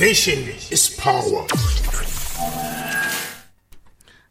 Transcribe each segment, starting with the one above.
Vision is power.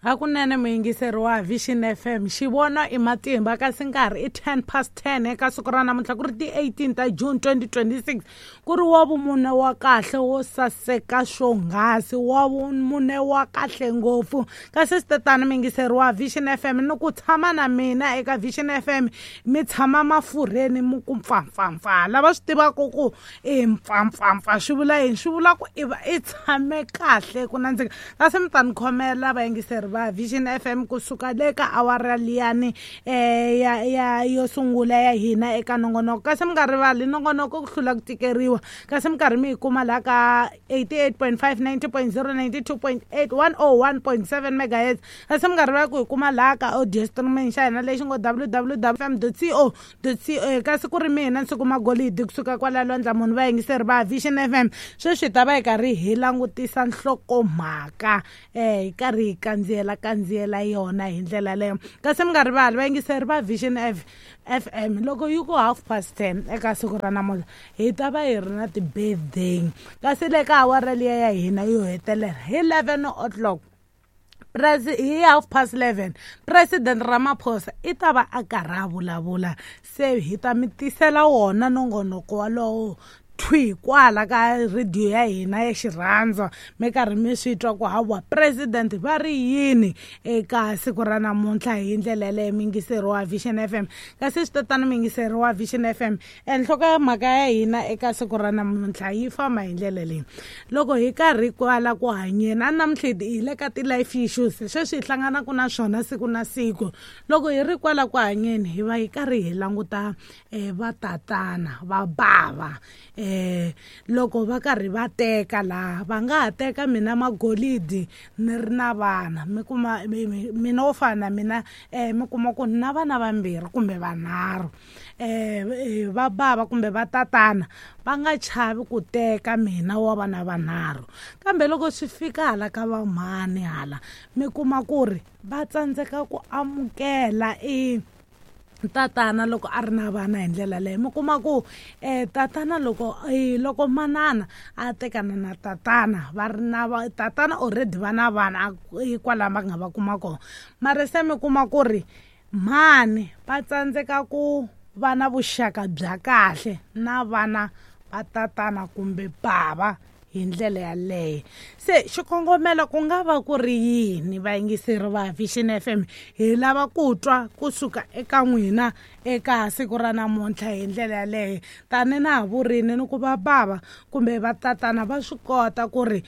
Hakunene muyingiseri wa Vision FM, xivono i matimba, kasi nkarhi i 10 past 10 eka siku ra namuntlha, ku ri ti-18 ta June 2026, ku ri wa vumune wa kahle wo saseka swonghasi, wa vumune wa kahle ngopfu. Kasi swi muyingiseri wa Vision FM, ni ku tshama na mina eka Vision FM mi tshama mafurheni mi ku mpfampfampfa. Lava swi tivaka ku i mpfampfampfa swi vula yini? Swi vula ku i va i tshame kahle ku nandzika. Kasi mi ta ni khomela vayingiseri va Vision FM, kusuka le ka awara liyani ya yo sungula ya hina eka nongonoko. Kasi mi nga rivali nongonoko ku hlula ku tikeriwa, kasi mi karhi mi yi kuma laha ka 88.5, 90.0, 92.8, 101.7 megahertz. Kasi mi nga rivali ku hi kuma laha ka audio streaming xa hina lexi ngo www fm co co. Kasi ku ri mina Nsuku Magolidi kusuka kwala Lwandla Munhu. Vayingiseri va Vision FM, sweswi hi ta va hi karhi hi langutisa nhlokomhaka, hi karhi hi kandziyela yona hi ndlela leyo. Kasi mi nga rivali vayingiseri va Vision FM, loko yi ku 10:30 eka siku ra namuntlha, hi ta va hi ri na ti-birthday. Kasi le ka awara liya ya hina yo hetelela hi 11 o'clock, hi 11:30, President Ramaphosa i ta va a karhi a vulavula. Se hi ta mi tisela wona nongonoko walowo thwi kwala ka rediyo ya hina ya xirhandza, mi karhi mi swi twa ku hawa president va ri yini eka siku ra namuntlha hi ndlela yaleyo, muyingiseri wa Vision FM. Kasi swi tatana, muyingiseri wa Vision FM, enhloko ya mhaka ya hina eka siku ra namuntlha yi famba hi ndlela leyi. Loko hi karhi kwala ku hanyeni a namuntlha, hi le ka ti-life issues sweswi hi hlanganaka na swona siku na siku. Loko hi ri kwala ku hanyeni, hi va hi karhi hi languta vatatana va bava, loko va karhi va teka laha, va nga ha teka mina magolidi ni ri na vana. Mi kuma mina wo fana na mina, mi kuma ku na vana vambirhi kumbe vanharhu, va bava kumbe va tatana va nga chavi ku teka mina wa vana vanharhu. Kambe loko swi fika hala ka vamhani hala, mi kuma ku ri va tsandzeka ku amukela i tatana loko a ri na vana hi ndlela leyo. Mi kuma ku tatana loko manana a tekana na tatana, va ri na tatana already va na vana kwalaho va nga va kuma kona, mara se mi kuma ku ri mhani va tsandzeka ku va na vuxaka bya kahle na vana va tatana kumbe bava hi ndlela yaleyo. Se xikongomelo ku nga va ku ri yini, vayingiseri va Vision FM? Hi lava ku twa kusuka eka n'wina eka siku ra namuntlha hi ndlela yaleyo. Tani na ha vurini ni ku va bava kumbe va tatana va swi kota ku ri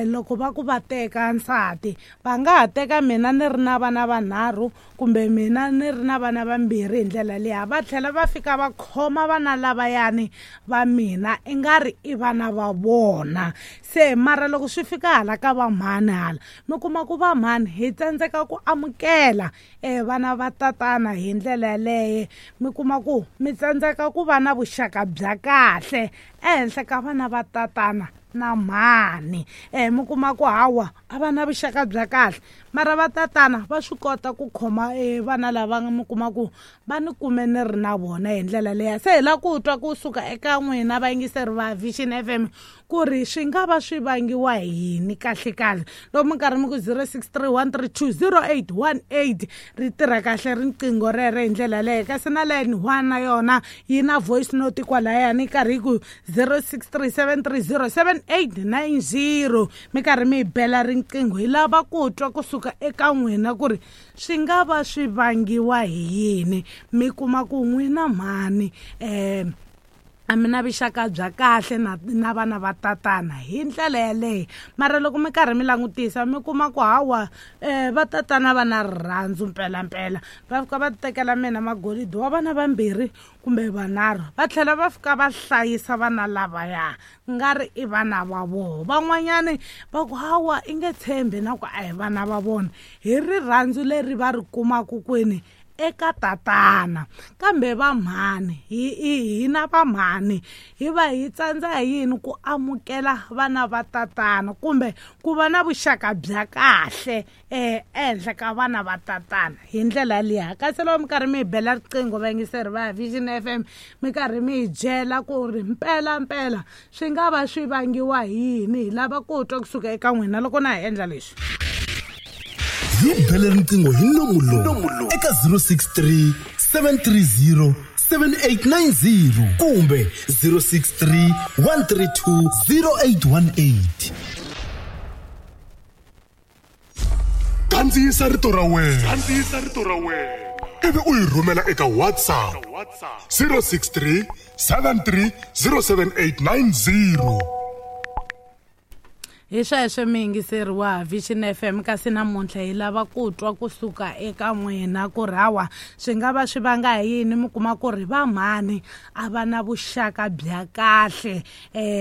loko va ku va teka nsati, va nga ha teka mina ni ri na vana vanharhu kumbe mina ni ri na vana vambirhi hi ndlela liya, va tlhela va fika va khoma vana lavayani va mina i nga ri i vana va vona. Se mara loko swi fika hala ka vamhani hala, mi kuma ku vamhani hi tsandzeka ku amukela vana va tatana hi ndlela yaleyo. Mi kuma ku mi tsandzeka ku va na vuxaka bya kahle ehenhla ka vana va tatana na mhani. Mi kuma ku hawa a va na vuxaka bya kahle, mara va tatana va swi kota ku khoma vana lava mi kuma ku va ni kume ni ri na vona hi ndlela leya. Se hi lava ku twa kusuka eka n'wina vayingiseri va Vision FM ku ri swi nga va swi vangiwa hi yini kahle kahle. Loko mi karhi mi ku 0631320818, ri tirha kahle riqingho rero hi ndlela yaleyo. Kasi na line 1 na yona yi na voice note kwalayani, yi karhi yi ku 0637307890. Mi karhi mi hi bela riqingho, hi lava ku twa kusuka eka n'wina ku ri swi nga va swi vangiwa hi yini. Mi kuma ku n'wina mhani a mi na vuxaka bya kahle na vana va tatana hi ndlela yaleyo, mara loko mi karhi mi langutisa, mi kuma ku hawa va tatana va na rirhandzu mpelampela, va fika va tekela mina magolidi wa vana vambirhi kumbe vanharhu, va tlhela va fika va hlayisa vana lavaya nga ri i vana va vona. Van'wanyani va ku hawa i nge tshembi na ku a hi vana va vona, hi rirhandzu leri va ri kumaka kwini. eka tatana. Kambe vamhani hina vamhani hi va hi tsandza hi yini ku amukela vana va tatana kumbe ku va na vuxaka bya kahle ehenhla ka vana va tatana hi ndlela liya. Kasi loko mi karhi mi hi bela riqingho vayingiseri va Vision FM, mi karhi mi hi byela ku ri mpela mpela swi nga va swi vangiwa hi yini, hi lava ku twa kusuka eka n'wina loko na hi endla leswi. Hi bele riqingho hi nomu lowu eka 063 730 7890 kumbe 063 132 0818. Kandziyisa rito ra wena. Kandziyisa rito ra wena. Ivi u yi rhumela eka WhatsApp 063 73 07890. Hi sweswo miyingiseri wa Vision FM, kasi namuntlha hi lava ku twa kusuka eka n'wina ku ri hawa swi nga va swi vanga hi yini mi kuma ku ri vamhani a va na vuxaka bya kahle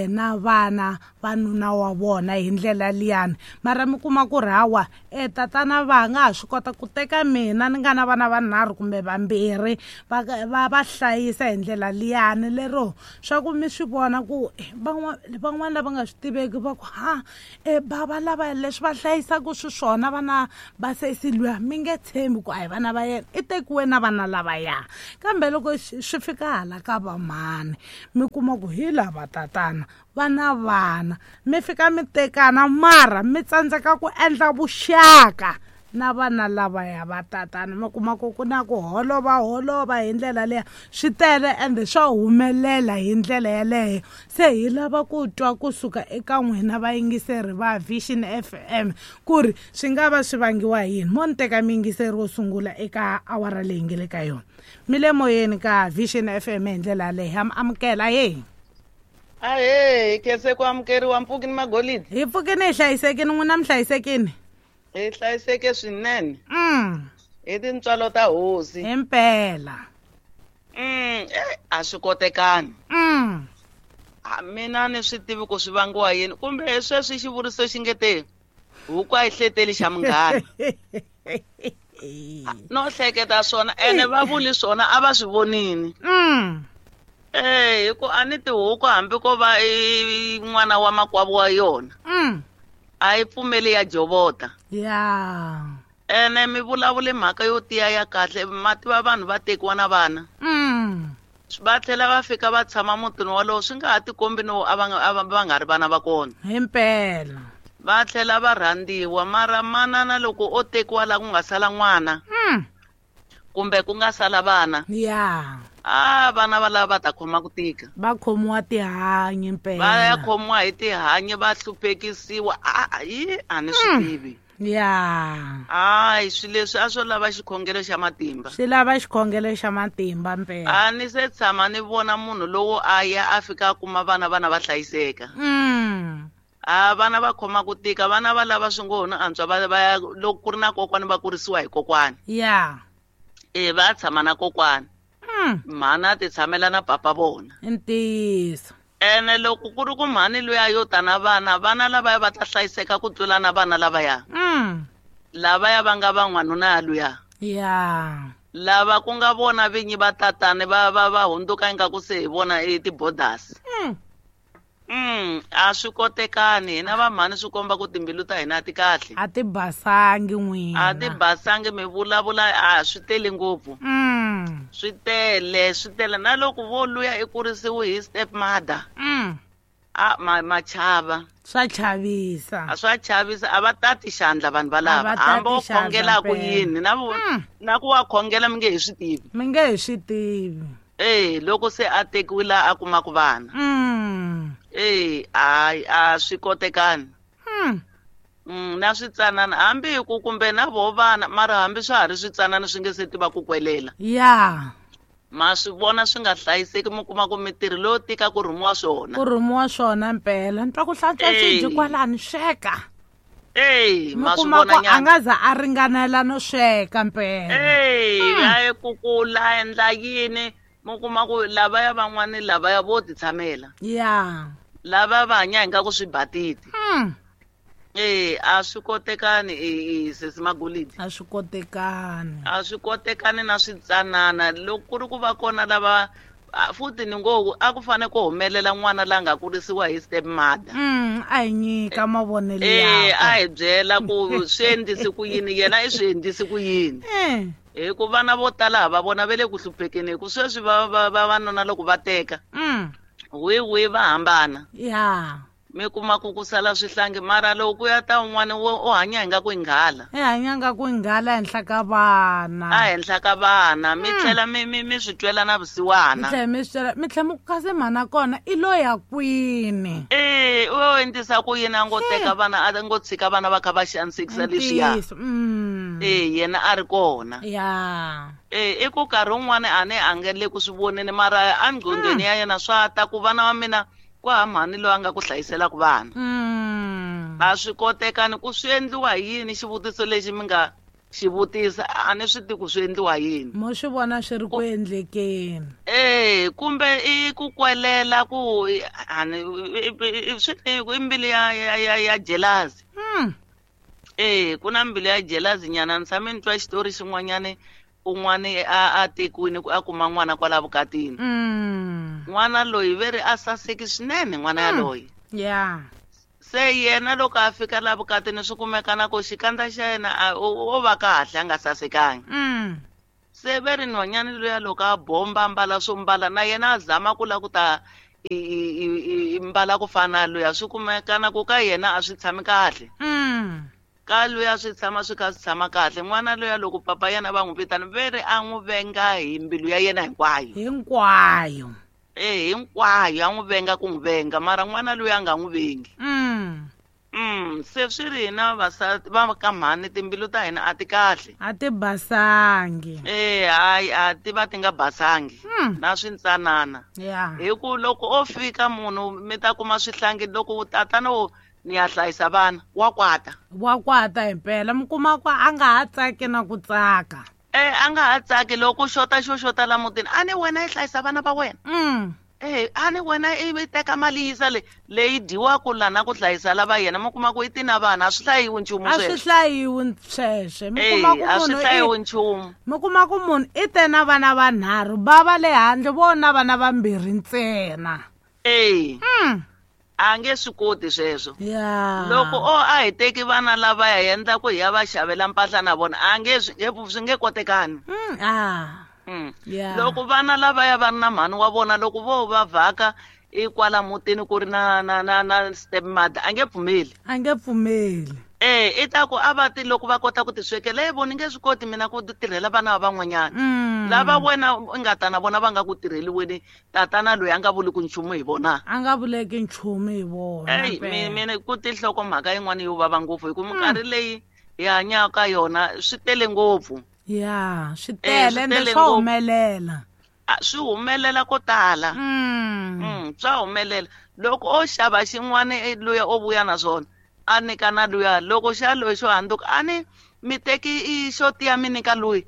na vana va nuna wa vona hi ndlela liyani, mara mi kuma ku ri hawa tatana va nga ha swi kota ku teka mina ni nga na vana vanharhu kumbe vambirhi va hlayisa hi ndlela liyani, lero swa ku mi swi vona ku van'wana lava nga swi tiveki va ku ha bava lava leswi va hlayisaka swiswona vana va sesi luya mi nge tshembi ku a hi vana va yena, i tekiwe na vana lavaya. Kambe loko swi fika hala ka vamhani mi kuma ku hi lava tatana vana vana mi fika mi tekana mara mi tsandzeka ku endla vuxaka na vana lavaya va tatana, mi kuma ku ku na ku holova holova hi ndlela leya, swi tele ende swa humelela hi ndlela yeleyo. Se hi lava ku twa kusuka eka n'wina vayingiseri va Vision FM ku ri swi nga va swi vangiwa hi yini. Mo ni teka miyingiseri wo sungula eka awara leyi nge le ka yona. Mi le moyeni ka Vision FM hi ndlela yaleyo, ha mi amukela. Ahee. Ahee, khense ku amukeriwa mpfuki ni magolidi. Hi pfukini hi hlayisekini, n'wina mi hlayisekini? Hi hlayiseke swinene. Hi tintswalo ta hosi. Himpela. A swi kotekani. Mina ni swi tivi ku swi vangiwa yini, kumbe sweswi xivuriso xi nge te huku a yi hleteli xa munghana. No hleketa swona ene va vuli swona a va swi vonini. Hi ku a ni tihuku hambi ko va i n'wana wa makwavo wa yona. A yi pfumeli ya jovota. Ya. Ene mi vulavule mhaka yo tiya ya kahle, ma tiva vanhu va tekiwa na vana. Va tlhela va fika va tshama mutini wolowo, swi nga ha tikombi no a va nga ri vana va kona. Himpela. Va tlhela va rhandziwa, mara manana loko o tekiwa la ku nga sala n'wana. Kumbe ku nga sala vana. Ya. Vana va lava va ta khoma ku tika. Va khomiwa tihanyi mpela. Va ya khomiwa hi tihanyi, va hluphekisiwa. A ni swi tivi. Ya. Hayi, swilo leswi a swo lava xikhongelo xa matimba. Swi lava xikhongelo xa matimba mpela. A ni se tshama ni vona munhu lowo a ya a fika a kuma vana va hlayiseka. Vana va khoma ku tika, vana va lava swi ngo no antswa va ya loko ku ri na kokwani va kurisiwa hi kokwani. Ya. Va tshama na kokwani. Mhana ti tshamela na papa vona. Ntiyiso. Ene loko ku ri ku mhani luya yo ta na vana, vana lavaya va ta hlayiseka ku tlula na vana lavaya. Lavaya va nga van'wanuna ya luya. Ya. Lava ku nga vona vinyi va tatani va hundzuka ingaku se hi vona i ti-borders. A swi kotekani, hina vamhani swi komba ku timbilu ta hina a ti kahle. A ti basangi n'wina. A ti basangi, mi vulavula a swi tele ngopfu. Swi tele, swi tele. Na loko vo luya i kurisiwe hi step mother. Ma chava. Swa chavisa. A swa chavisa, a va tati xandla vanhu valava. Hambi wo khongela ku yini, na ku wa khongela mi nge hi swi tivi. Mi nge hi swi tivi. Loko se a tekiwile a kuma ku vana. A swi kotekani. Na switsanana hambi hi ku kumbe na vo vana, mara hambi swa ha ri switsanana swi nge se tiva ku kwelela. Ya. Ma swi vona swi nga hlayiseki, mi kuma ku mitirho leyo tika ku rhumiwa swona. Ku rhumiwa swona mpela. Ni twa ku hlantswa swidyi kwalani, sweka. Ma swi vona nyana. A nga za a ringanela no sweka mpela. A kukula endla yini? Mi kuma ku lavaya van'wani lavaya vo ti tshamela. Ya. Lava va hanya ingaku swi batiti. A swi kotekani sesi Magolidi. A swi kotekani. A swi kotekani na switsanana. Loko ku ri ku va kona lava futhi ni ngo a ku fane ku humelela n'wana la nga kurisiwa hi step mother. A hi nyika mavonelo yakwe. A hi byela ku swi endlise ku yini, yena i swi endlise ku yini. Hi ku vana vo tala ha va vona va le ku hluphekeni, hi ku sweswi vavanuna loko va teka wihi va hambana. Mi kuma ku ku sala swihlangi, mara loko ku ya ta un'wana u hanya hi nga ku inghala. I hanya nga ku inghala ehenhla ka vana. A henhla ka vana, mi tlhela mi swi twela na vusiwana. Mi tlhela mi swi twela, mi tlhela mi ku kasi mhana kona i lo ya kwini. U endlisa ku yini a ngo teka vana, a ngo tshika vana va kha va xanisekisa leswiya. Yena a ri kona. I ku nkarhi wun'wani a ni a nge le ku swi voneni, mara enqhondweni ya yena swa ta ku vana va mina kwa mhani loyi a nga ku hlayiselaka vana. A swi kotekani ku swi endliwa hi yini xivutiso lexi mi nga xi vutisa, a ni swi tivi ku swi endliwa yini. Mo swi vona swi ri ku endlekeni. Kumbe i ku kwelela ku ani swi i mbilu ya jealousy. Ku na mbilu ya jealousy nyana. Ni tshame ni twa xitori xin'wanyani, un'wani a tekiwile ku a kuma n'wana kwala vukatini. N'wana loyi ve ri a saseki swinene n'wana yaloye. Se yena loko a fika la vukatini swi kumeka na ku xikandza xa yena o va kahle a nga sasekangi. Se ve ri nhwanyana luya loko a bomba mbala swo mbala na yena a zama ku la ku ta mbala ku fana na luya, swi kumeka na ku ka yena a swi tshami kahle. Ka luya swi tshama swi kha swi tshama kahle. N'wana luya loko papa yena va n'wi vitana ve ri a n'wi venga hi mbilu ya yena hinkwayo. Hinkwayo. Hinkwayo a n'wi venga ku n'wi venga, mara n'wana luya a nga n'wi vengi. Se swi ri hina vavasati va ka mhani timbilu ta hina a ti kahle. A ti basangi. Hayi a ti va ti nga basangi. Na swintsanana. Hi ku loko o fika munhu mi ta kuma swihlangi loko tatana wo ni ya hlayisa vana wa kwata. Wa kwata himpela, mi kuma ku a nga ha tsaki na ku tsaka. A nga ha tsaki loko xota xo xota la mutini, a ni wena i hlayisa vana va wena. A ni wena i teka mali yisa leyi dyiwaka lana ku hlayisa lava yena, mi kuma ku i ti na vana, a swi hlayiwi nchumu sweswo. A swi hlayiwi sweswo. Mi kuma ku a swi hlayiwi nchumu. Mi kuma ku munhu i te na vana vanharhu, va va le handle vona vana vambirhi ntsena. A nge swi koti sweswo. Loko o a hi teki vana lava ya endla ku hi ya va xavela mpahla na vona, a nge swi nge kotekani. Loko vana lava ya va ri na mhani wa vona, loko vo va vhaka i kwala mutini ku ri na step mother, a nge pfumeli. A nge pfumeli. I ta ku a va ti loko va kota ku ti swekela, voni nge swi koti mina ku tirhela vana va van'wanyana. Lava wena u nga ta na vona va nga ku tirheli weni, tatana loyi a nga vuli ku nchumu hi vona. A nga vuleki nchumu hi vona. Mina ku tinhloko mhaka yin'wana yo vava ngopfu, hi ku minkarhi leyi hi hanyaka yona swi tele ngopfu. Swi tele ende swa humelela. Swi humelela ko tala. Swa humelela. Loko o xava xin'wana luya o vuya na swona, a nyika na luya, loko xa loyi xo handzuka a ni mi teki xo tiya mi nyika loyi.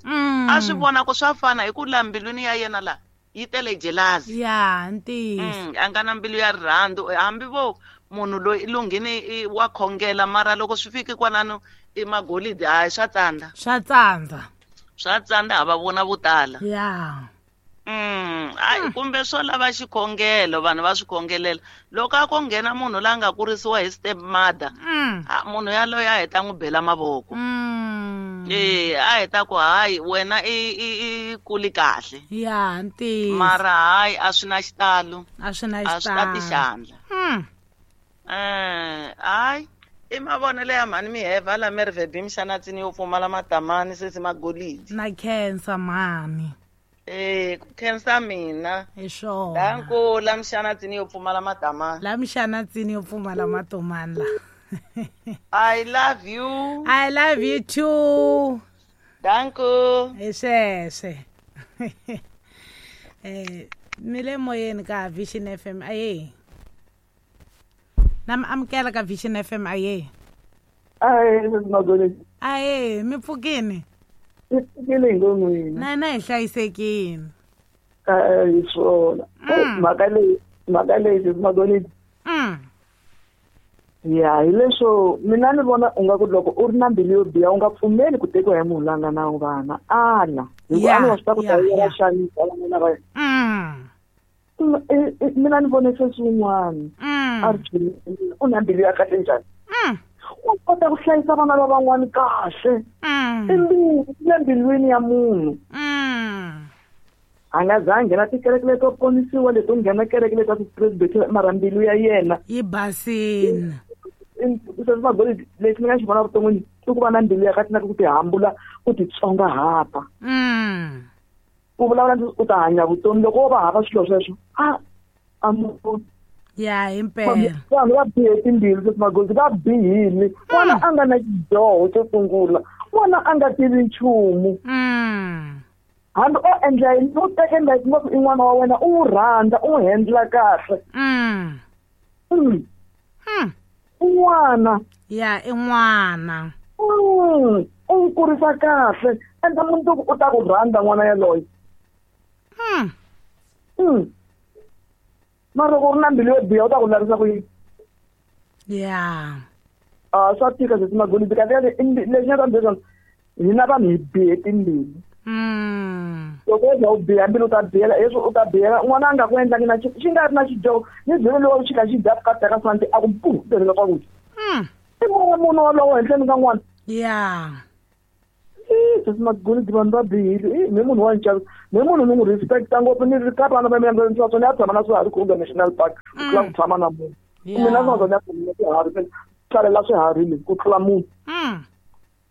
A swi vona ku swa fana hi ku la mbilwini ya yena la yi tele jealousy. Ntiyiso. A nga na mbilu ya rirhandzu, hambi vo munhu loyi i lunghini wa khongela, mara loko swi fiki kwalano i magolidi, hayi swa tsandza. Swa tsandza. Swa tsandza ha va vona vo tala. Kumbe swo lava xikhongelo, vanhu va swi khongelela. Loko a ko nghena munhu la nga kurisiwa hi step mother, munhu yaloye a heta n'wi bela mavoko. A heta ku hayi wena i kuli kahle. Ntiyiso. Mara hayi a swi na xitalo. A swi na xitalo. A swi tati xandla. Hayi i mavonelo ya mhani miheva la Merve Mxanatsini yo pfumala matamani sesi Magolidi. Na khensa mhani. Ku khensa mina. Hi swona. Danko la Mxanatsini yo pfumala matamani. La Mxanatsini yo pfumala matomani la. I love you. I love you too. Danko. Hi sweswe. Mi le moyeni ka Vision FM aye. Na mi amukela ka Vision FM aye. Aye, Magolidi. Aye, mi pfukini. Pfukile ngomwini. Na hi hlayisekile. Hi swona. Mhaka leyi Magolidi. Ya, hi leswo mina ni vona u nga ku loko u ri na mbilu yo biha u nga pfumeli ku tekiwa hi munhu la nga na vana. Ala. Hikuva a ni wa swi tiva ku ta yela xanisa vana va yena. Mina ni vone sweswi un'wana a ri u na mbilu ya kahle njhani. U kota ku hlayisa vana va van'wana kahle. I mbilu le mbilwini ya munhu. A nga za a nghena tikereke leto ponisiwa leto nghena kereke leto ti-presbyterian, mara mbilu ya yena yi basini. Magoli lexi ni nga xi vona vuton'wini i ku va na mbilu ya kahle na ku tihambula, ku titsongahata. Ku vulavula u ta hanya vutomi loko wo va hava swilo sweswo a munhu. Ya, himpela. Vanhu va bihe timbilu sweswi Magoli, va bihile. N'wana a nga na xidyoho xo sungula, n'wana a nga tivi nchumu. Hambi o endla yini, u teke like ngopfu i n'wana wa wena, u n'wi rhandza, u n'wi handla kahle. I n'wana. Ya, i n'wana. U n'wi kurisa kahle, endla mundzuku u ta ku rhandza n'wana yaloye. Mara loko u ri na mbilu yo biha u ta ku lavisa ku yini? Ya. Swa tika sweswi Magoli, kahle lexi nga ta ni byela swona, hina vanhu hi bihe timbilu. Loko u za u biha mbilu u ta bihela, leswi u ta bihela n'wana a nga ku endlangi na xi nga ri na xidyoho, ni byele lowu xi kha xi dya vukati ka santi a ku mpu tirhela swakudya. I n'wana munhu walowo henhleni ka n'wana. Ya. Sweswi Magoli vanhu va bihile. Me munhu wa nchavisa, me munhu ni n'wi respecta ngopfu, ni ri ka vana va mina ni swa ni ya tshama na swiharhi Kruger National Park ku tlula ku tshama na munhu. Mina swa ni ya tshama na swiharhi, hlalela swiharhi leswi ku tlula munhu.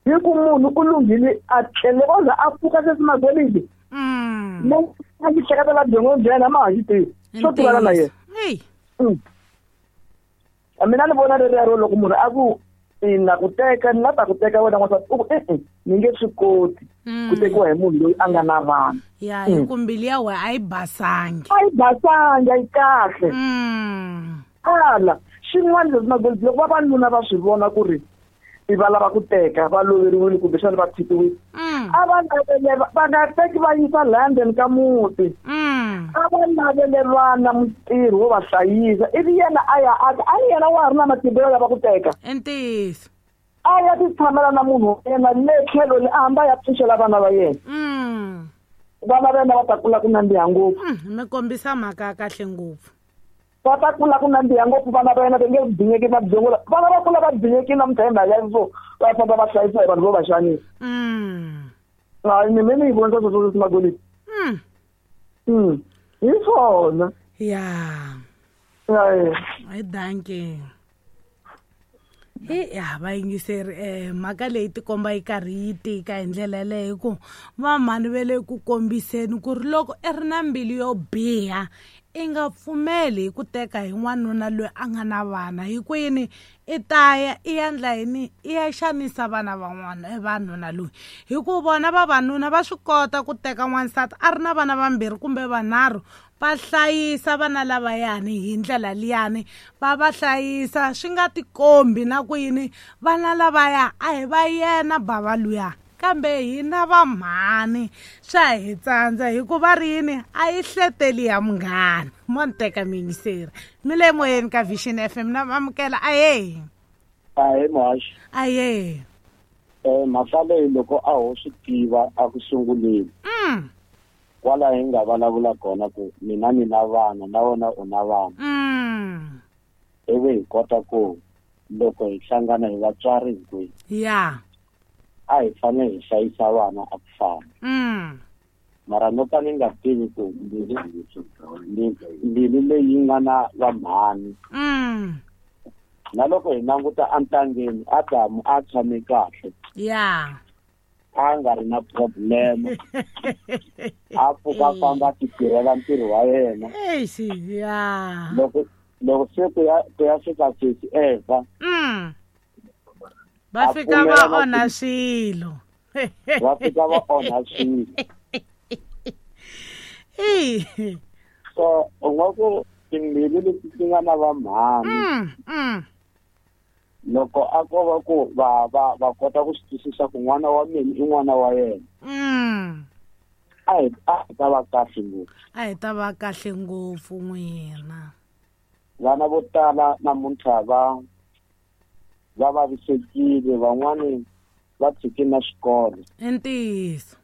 Hi ku munhu u lunghile a tlhele o za a pfuka sweswi Magoli. Mo a xi hleketela byongo bya yena ma ha xi tivi. Swo tivana na yena. Mina ni vona rero loko munhu a ku na ku teka, ni la ta ku teka wena n'wansati, u ku e-e, ni nge swi koti ku tekiwa hi munhu loyi a nga na vana. Ya, hi ku mbilu ya wena a yi basangi. A yi basangi, a yi kahle. Ala, xin'wana leswi Magoli, loko vavanuna va swi vona ku ri i va lava ku teka, va loveriwile kumbexana va tshikiwile. A va lavele, va nga teki va yisa London ka muti. A va lavele vana mutirhi wo va hlayisa, ivi yena a ya aka, a yena wa ha ri na matimba yo lava ku teka. Ntiyiso. A ya ti tshamela na munhu wa yena le tlhelo le, a hamba ya pfuxela vana va yena. Vana va yena va ta kula ku nandziha ngopfu. Mi kombisa mhaka ya kahle ngopfu. Va ta kula ku nandziha ngopfu vana va yena, va nge binyeki na byongo. Vana va kula va binyekile namuntlha hi mhaka ya so va famba va hlayisa hi vanhu vo va xanisa. Hayi, ni me ni yi vonisa sweswo leswi Magoli. Hi swona. Ya. Ya, ya. Hi dankie. Ya, vayingiseri, mhaka leyi tikomba yi karhi yi tika hi ndlela yaleyo, hi ku vamhani va le ku kombiseni ku ri loko i ri na mbilu yo biha i nga pfumeli hi ku teka hi n'wanuna loyi a nga na vana, hi ku yini i ta ya i ya endla yini, i ya xanisa vana van'wana vanuna loyi, hi ku vona vavanuna va swi kota ku teka n'wansati a ri na vana vambirhi kumbe vanharhu, va hlayisa vana lavayani hi ndlela liyani, va va hlayisa swi nga tikombi na ku yini vana lavaya a hi va yena bava luya, kambe hina vamhani swa hi tsandza hikuva ri yini a yi hleteli ya munghana. Mo ni teka miyingiseri mi le moyeni ka Vision FM na amukela. Aye. Ahe muhaxi. Aye. Mhaka leyi loko a ho swi tiva a ku sunguleni. Kwala hi nga vulavula kona ku mina ni na vana na wena u na vana. Ivi hi kota ku loko hi hlangana hi vatswari hinkwenu. Ya. A hi fanele hi hlayisa vana a ku fana. Mara no ka ni nga tivi ku mbilu leyi nga na vamhani. Na loko hi languta entangeni Adamu a tshame kahle. Ya. A nga ri na problem. A pfuka famba ti tirhela ntirho wa yena. Eish, ya. Loko se ku ya fika sesi Eva. Va fika va onha swilo. Va fika va onha swilo. So u nga ku timbilu leti ti nga na vamhani. Loko a ko va ku va kota ku swi twisisa ku n'wana wa mina i n'wana wa yena. A hi ta va kahle ngopfu. A hi ta va kahle ngopfu n'wina. Vana vo tala namuntlha va Va vavisekile, van'wani va tshike na xikolo. I ntiyiso.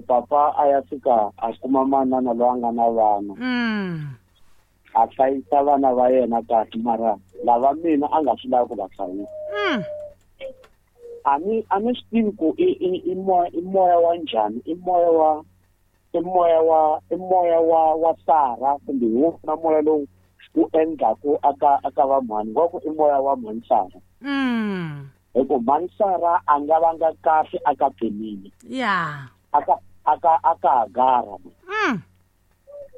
Papa a ya fika a kuma manana loyi a nga na vana. A hlayisa vana va yena kahle, mara lava mina a nga swi lavi ku va hlayisa. A ni swi tivi ku i moya wa njhani, i moya wa Sara kumbe hi wona moya lowu wu endlaku aka va mhani, wa ku i moya wa mhani Sara. Hi ku mhani Sara a nga vanga kahle aka Penina. Yeah. Aka Hagara.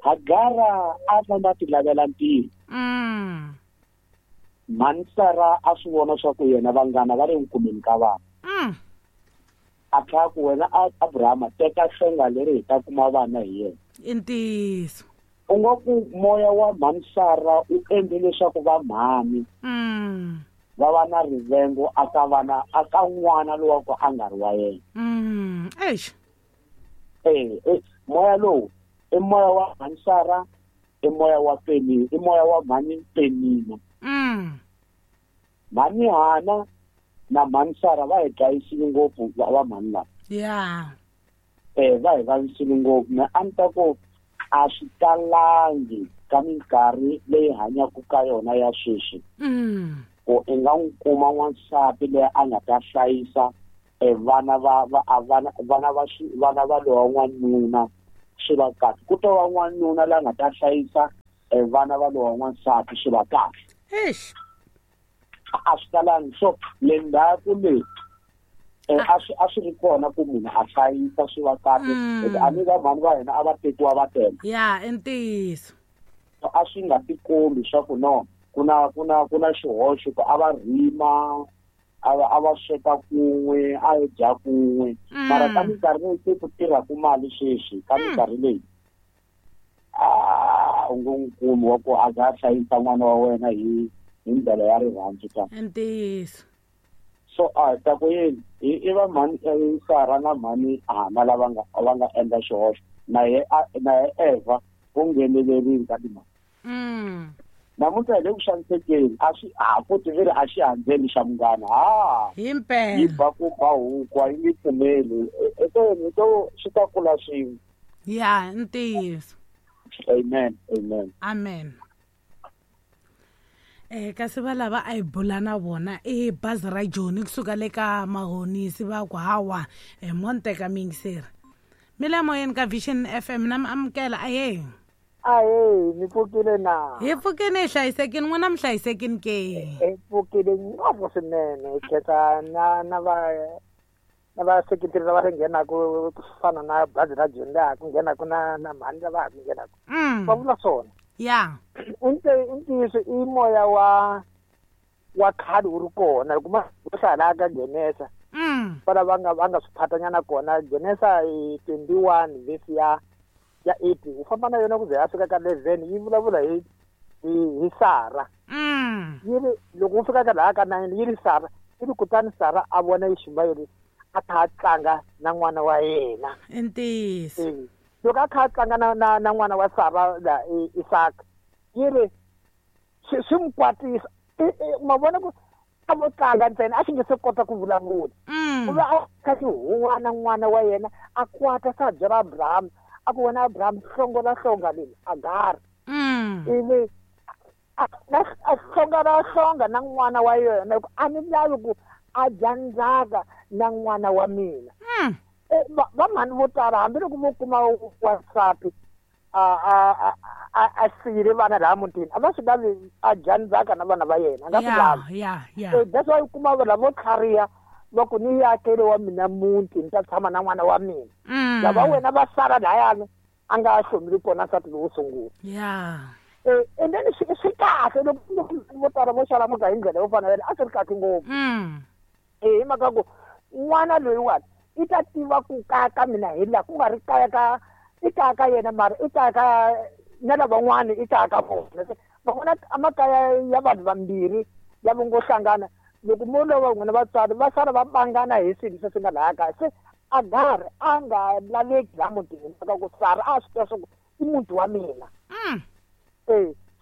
Hagara a famba ti lavela ntirho. Mhani Sara a swi vona swa ku yena vanghana va le ku kumeni ka vana. A tlhela ku wena Abrahama teka hlonga leri hi ta kuma vana hi yena. I ntiyiso. U nga ku moya wa mhani Sara u endle leswaku va mhani va va na rivengo aka vana aka n'wana lowa ku a nga ri wa yena. Eish. Moya lowu i moya wa mhani Sara, i moya wa Penina, i moya wa mhani Penina. Mhani Hana na mhani Sara va hi dlayisile ngopfu va mhani lava. Yeah. Va hi vavisile ngopfu. Na a ni ta ku a swi talangi ka minkarhi leyi hanyaka ka yona ya sweswi. Ku i nga n'wi kuma n'wansati loyi a nga ta hlayisa vana va vana va lowa n'wanuna swi va kahle. Ku to va n'wanuna la nga ta hlayisa vana va lowa n'wansati swi va kahle. Eish. A swi talangi. So le ndzhaku le a swi ri kona ku munhu a hlayisa swi va kahle. A ni va mhani va hina a va tekiwa va tele. Yeah, i ntiyiso. A swi nga tikombi swa ku no ku na xihoxo ku a va rima, a va sweka kun'we, a hi dya kun'we. Mara ka minkarhi leyi se ku tirhaka mali sweswi, ka minkarhi leyi u ngo n'wi kumi wa ku a nga hlayisa n'wana wa wena hi ndlela ya rirhandzu ka. I ntiyiso. So a ta ku yini i va mhani Sara na mhani Hana lava nga endla xihoxo, na ye Eva u nghenelerile ka timhaka. Namuntlha hi le ku xanisekeni, a swi ha futhi veri a xi handzeli xa munghana. Himpela. Yi ba ku ba huku a yi nge pfumeli. To swi ta kula swin'we. Yeah, ntiyiso. Amen, amen. Amen. Kasi va lava a hi bula na vona i bazi ra Joni kusuka le ka Mahonisi va ku hawa mo ni teka miyingiseri. Mi le moyeni ka Vision FM na mi amukela. Ahee. Ahee, mi pfukile na? Hi pfukile, hi hlayisekile. N'wina mi hlayisekile ke? Hi pfukile ngopfu swinene. Hi khetsa na vaseketeri lava ri nghenaku ku fana na bazi ra Joni laha ku nghenaku na mhani lava ha ku nghenaku. Va vula swona. Yeah. I ntiyiso i moya wa khale wu ri kona. Loko ma hlaya laha ka Genesa, va va nga swi phatanyana kona. Genesa 21 verse ya 8 u famba na yona ku ze ya fika ka 11 yi vulavula hi Sara. Yi ri loko u fika ka laha ka 9 yi ri Sara, yi ri kutani Sara a vona Ishimayeli a kha a tlanga na n'wana wa yena. I ntiyiso. Loko a kha a tlanga na n'wana wa Sara la Isaka, yi ri swi n'wi kwatisa. Ma vona ku a vo tlanga ntsena a xi nge se kota ku vulavula. U va a kha xi huwa na n'wana wa yena a kwata sa byela Abraham, a ku wena Abraham hlongola hlonga leri Agar. Ivi a hlongola hlonga na n'wana wa yena ku a ni lavi ku a dya ndzhaka na n'wana wa mina. Va mhani vo tala hambiloko vo kuma wansati a siyile vana laha mutini a va swi lavi a dya ndzhaka na vana va yena, a nga swi lavi. That's why u kuma vanhu lavo tlhariha va ku ni yakele wa mina muti ni ta tshama na n'wana wa mina. Lava wena va sala lahayani a nga hlomili kona nsati lowo sungula. And then swi kahle loko vo tala vo xalamuka hi ndlela yo fana yena a swi ri kahle ngopfu. Hi mhaka ku n'wana loyiwani i ta tiva ku kaya ka mina hi laha ku nga ri kaya ka i kaya ka yena, mara i kaya ka na lavan'wana i kaya ka vona. Van'wana amakaya ya vanhu vambirhi lava ngo hlangana loko mo lova n'wina vatswari va sala va bangana hi swilo leswi nga laha kaya. Se Agar a nga laveki laha mutini mhaka ku Sara a swi tiva swa ku i muti wa mina.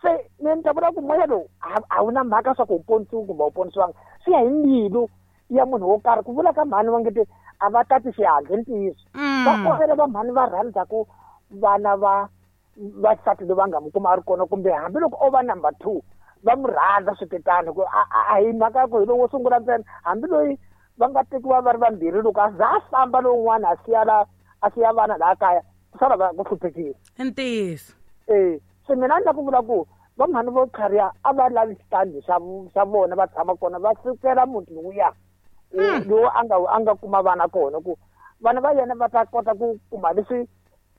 Se ni ta vula ku moya lowu a wu na mhaka swa ku u ponisiwe kumbe a wu ponisiwanga, swi ya hi mbilu ya munhu wo karhi. Ku vula ka mhani va nge te a va tati xihatla, i ntiyiso. Va kona va mhani va rhandzaku vana va vasati loyi va nga mi kuma a ri kona, kumbe hambiloko o va number 2 va mu rhandza switetano, ku a hi mhaka ya ku hi lowo sungula ntsena. Hambi loyi va nga tekiwa va ri vambirhi, loko a za a famba lowun'wana a siya la a siya vana laha kaya, ku sala va ku hluphekile. I ntiyiso. Se mina ni la ku vula ku va mhani vo tlhariha a va lavi xitandi xa vona va tshama kona, va sukela muti lowuya lowu a nga kuma vana kona, ku vana va yena va ta kota ku kuma leswi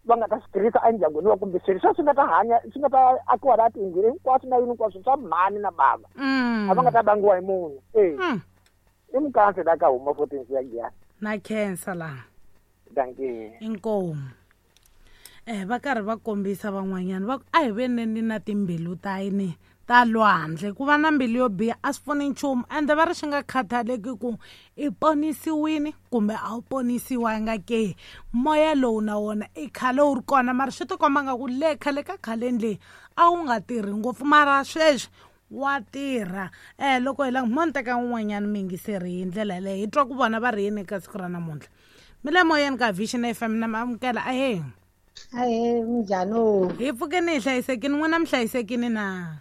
va nga ta swi tirhisa endyangwini wa, kumbe swilo swa swi nga ta hanya swi nga ta akiwa laha tiyindlwini hinkwaswo na yini hinkwaswo swa mhani na bava, a va nga ta vangiwa hi munhu. I mukansi la ka huma 14 ya Giyani. Na khensa laha. Dankie. Inkomu. Va karhi va kombisa van'wanyana va ku a hi veneni na timbilu ta yini ta lwandle, ku va na mbilu yo biha a swi pfuni nchumu, ende va ri swi nga khathaleki ku i ponisiwini kumbe a wu ponisiwanga ke, moya lowu na wona i khale wu ri kona, mara swi tikomba nga ku le khale ka khaleni leyi a wu nga tirhi ngopfu, mara sweswi wa tirha. Loko hi langa mo ni teka un'wanyana muyingiseri hi ndlela yaleyo, hi twa ku vona va ri yini eka siku ra namuntlha. Mi le moyeni ka Vision FM na mi amukela. Ahee. Ahee, minjhani? Hi pfukeni hi hlayisekini, n'wina mi hlayisekini na?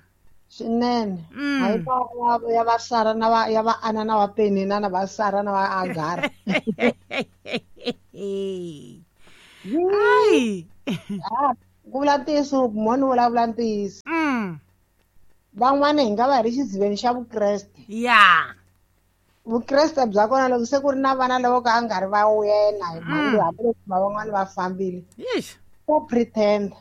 Swinene. Hayi va ya va Sara na va ya va Ana na va Penina na va Sara na va Agara. Ai. Ku vula ntiyiso, mo ni vulavula ntiyiso. Van'wana hi nga va hi ri xidziveni xa Vukreste. Vukreste bya kona loko se ku ri na vana lavo ka a nga ri va wena, hi mhani loyi hambiloko va van'wana va fambile. Ko pretend.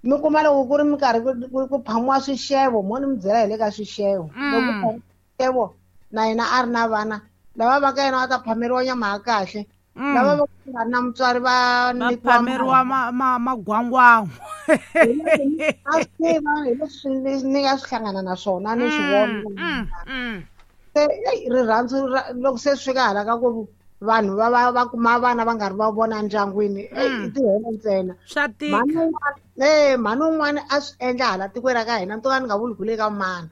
Mi kuma loko ku ri minkarhi ku phamiwa swixevo, mo ni mi byela hi le ka swixevo. Loko ku phamiwa swixevo, na yena a ri na vana, lava va ka yena va ta phameriwa nyama ya kahle. Lava va nga ri na mutswari va nyikiwa phameriwa magwangwangu. A swi tiva, hi leswi ni nga swi hlangana na swona, ni swi vona. Se, ei, rirhandzu ra, loko se swi fika hala ka ku vanhu va kuma vana va nga ri va vona endyangwini, ei, i tihele ntsena. Swa tika. Mhani un'wana a swi endla hala tikweni ra ka hina, ni to ka ni nga vuli ku le ka mani.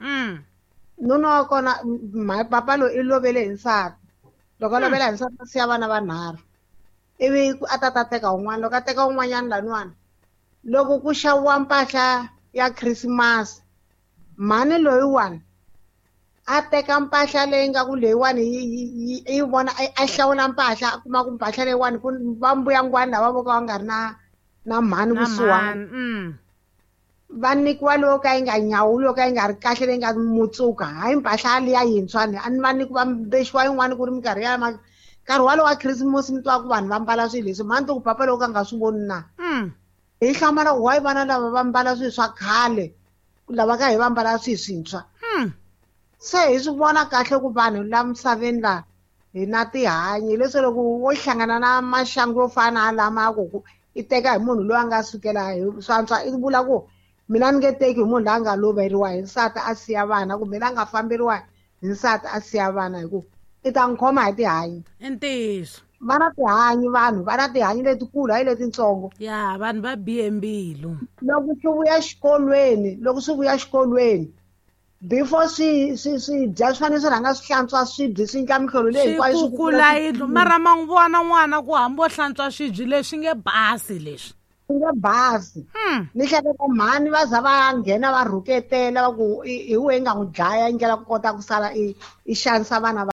Nuna wa kona, papa loyi i lovele hi nsati. Loko a lovela hi nsati, a siya vana vanharhu. Ivi a ta ta teka un'wana, loko a teka un'wanyana laniwani, loko ku xaviwa mpahla ya Christmas, mhani loyiwani a teka mpahla leyi nga ku leyiwani yi vona, a hlawula mpahla, a kuma ku mpahla leyiwani ku va mbuyangwani lava vo ka va nga ri na mhani Na kusuhani. mhani, Va nyikiwa leyo ka yi nga nyawuli, yo ka yi nga ri kahle, leyi nga mutsuka, hayi mpahla liya yintshwa ni, a ni va nyikiwa mbexiwa yin'wani ku ri minkarhi ya nkarhi walowo wa Christmas, mi twa ku vanhu va mbala swilo leswi, mhani to ku papa loko a nga swi voni na. Hi hlamala ku why vana lava va mbala swilo swa khale, lava ka hi va mbala swilo swintshwa. Se hi swi vona kahle ku vanhu la misaveni la hi na tihanyi, leswi loko wo hlangana na maxangu yo fana na lama ku i teka hi munhu loyi a nga sukela hi swantswa, i vula ku mina ni nge teki hi munhu loyi a nga loveriwa hi nsati a siya vana, kumbe loyi a nga famberiwa hi nsati a siya vana, hi ku i ta n'wi khoma hi tihanyi. I ntiyiso. Va na tihanyi vanhu, va na tihanyi letikulu, hayi letitsongo. Ya, vanhu va bihe mbilu. Loko swi vuya xikolweni, loko swi vuya xikolweni, before swi dya, swi fanele swi rhanga swi hlantswa swibye, swi endla mihlolo leyi hinkwayo swi Swi kukula yindlu. Mara ma n'wi vona n'wana ku hambi o hlantswa swibye leswi nge basi leswi. Swi nge basi. Ni hleketa mhani va za va nghena va rhuketela va ku hi wehe nga n'wi dlaya, yi ndlela ku kota ku sala i xanisa vana va